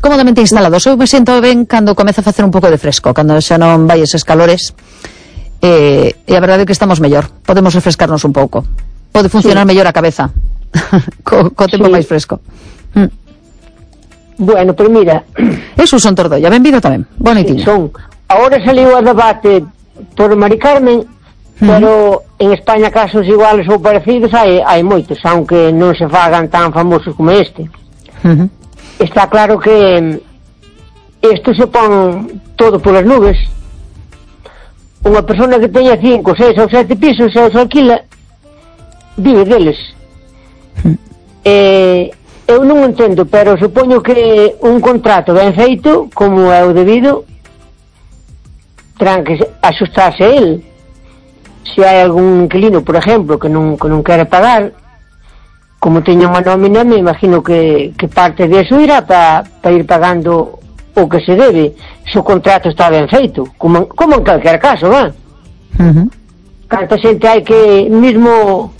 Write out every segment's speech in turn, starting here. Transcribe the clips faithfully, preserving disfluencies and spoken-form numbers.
cómodamente instalados. Eu me sinto ben cando comeza a facer un pouco de fresco, cando xa non vai eses calores, eh, e a verdade é que estamos mellor, podemos refrescarnos un pouco, pode funcionar sí. mellor a cabeza co, co tempo sí. máis fresco. mm. Bueno, pero mira, eso son Tordoia, benvido tamén, bonitinho. Sí, son. Ahora saliu a debate por Mari Carmen, uh-huh. pero en España casos iguales ou parecidos hai, hai moitos, aunque non se fagan tan famosos como este. Uh-huh. Está claro que isto se pon todo polas nubes. Unha persona que teña cinco, seis ou sete pisos e os alquila, vive deles. Uh-huh. eh, eu non entendo, pero supoño que un contrato ben feito, como é o debido, terán que axustarse a él. Se hai algún inquilino, por exemplo, que non, que non quere pagar, como teña unha nómina, me imagino que, que parte de eso irá para pa ir pagando o que se debe, se o contrato está ben feito, como, como en calquer caso, va? Uh-huh. Canta xente hai que, mismo,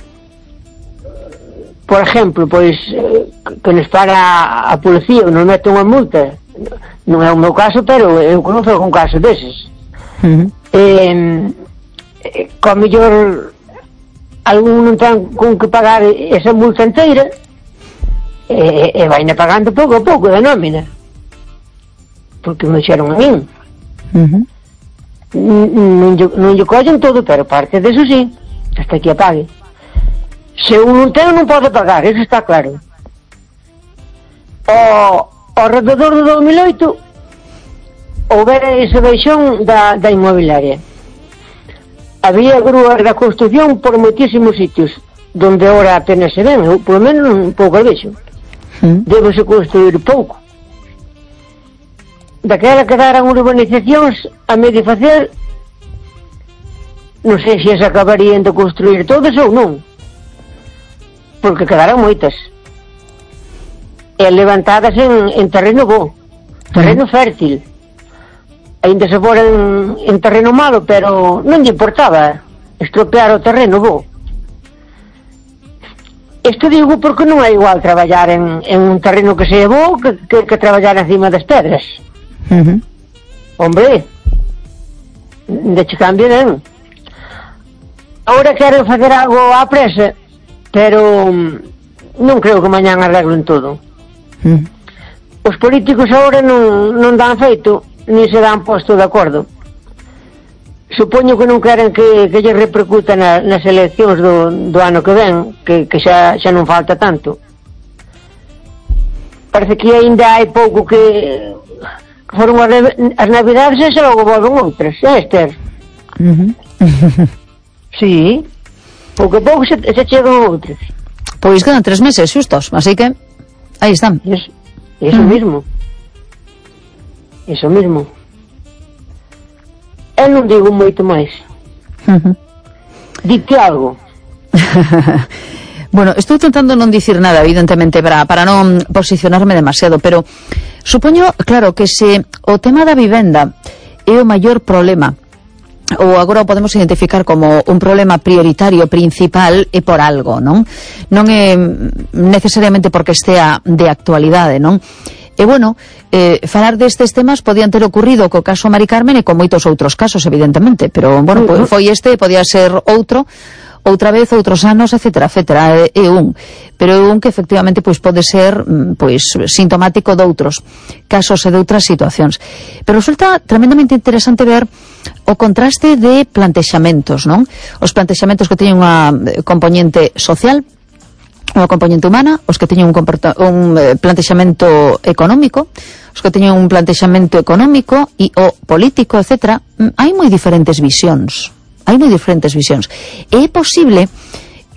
por exemplo, pois, que nos para a policía ou nos mete unha multa, non é o meu caso, pero eu conozco un caso deses. Uh-huh. Eh, con mellor algún non ten con que pagar esa multa inteira e, e vaina pagando pouco a pouco da nómina, porque me xeron a min. Uh-huh. non, non lle collen todo, pero parte deso sí, hasta que a pague. Se un non ten non pode pagar, eso está claro. O, ao rededor do dos mil oito houbera ese baixón da, da inmobiliaria. Había grúas da construcción por moitísimos sitios, donde ahora apenas se ven, ou polo menos un pouco vexo. Mm. Debese construir pouco. Daquela quedaran urbanizacións a medio facer, non sei se as acabarían de construir todas ou non, porque quedaran moitas. E levantadas en, en terreno bo, terreno mm. fértil. Ainda se fora en, en terreno malo, pero non lle importaba estropear o terreno bo. Isto digo porque non é igual traballar en, en un terreno que sea bo que, que, que traballar encima das pedras. Uh-huh. Hombre, de che cambio non. Ahora quero facer algo á presa, pero non creo que mañán arreglen todo. Uh-huh. Os políticos agora non, non dan feito, ni se dan posto de acordo. Supoño que non queren que, que lle repercuta na, nas eleccións do, do ano que ven, que, que xa, xa non falta tanto. Parece que ainda hai pouco que, que foron as, as navidades e xa logo volven outras, é, Esther? Uh-huh. Sí, pouco a pouco se, se chegan outras. Pois quedan tres meses xustos, así que aí están. Eso, eso uh-huh. mismo. Eso mismo. Eu non digo moito máis. Uh-huh. Dite algo. Bueno, estou tentando non dicir nada, evidentemente, para, para non posicionarme demasiado, pero supoño, claro, que se o tema da vivenda é o maior problema, ou agora o podemos identificar como un problema prioritario, principal, é por algo, non? Non é necesariamente porque estea de actualidade, non? E, bueno, eh, falar destes temas podían ter ocurrido co caso Mari Carmen e con moitos outros casos, evidentemente, pero, bueno, uh-huh. foi este, podía ser outro, outra vez, outros anos, etcétera, etcétera, é, é un, pero é un que efectivamente pois pode ser pois sintomático de outros casos e de outras situacións. Pero resulta tremendamente interesante ver o contraste de plantexamentos, non? Os plantexamentos que teñen unha componente social, unha componente humana, os que teñen un, un plantexamento económico, os que teñen un plantexamento económico e o político, etcétera. Hai moi diferentes visións. Hai moi diferentes visións. E é posible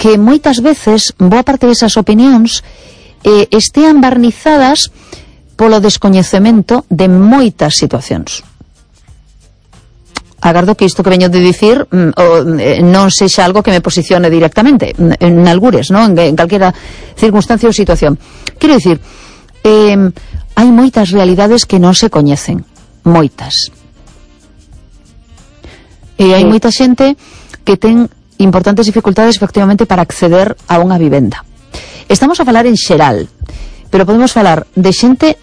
que moitas veces boa parte desas opinións eh, estean barnizadas polo descoñecemento de moitas situacións. Agardo que isto que veño de dicir mm, o, eh, non sexa algo que me posicione directamente en algures, ¿no? en, en calquera circunstancia ou situación. Quero dicir, eh, hai moitas realidades que non se coñecen, moitas. E hai moita xente que ten importantes dificultades efectivamente para acceder a unha vivenda. Estamos a falar en xeral, pero podemos falar de xente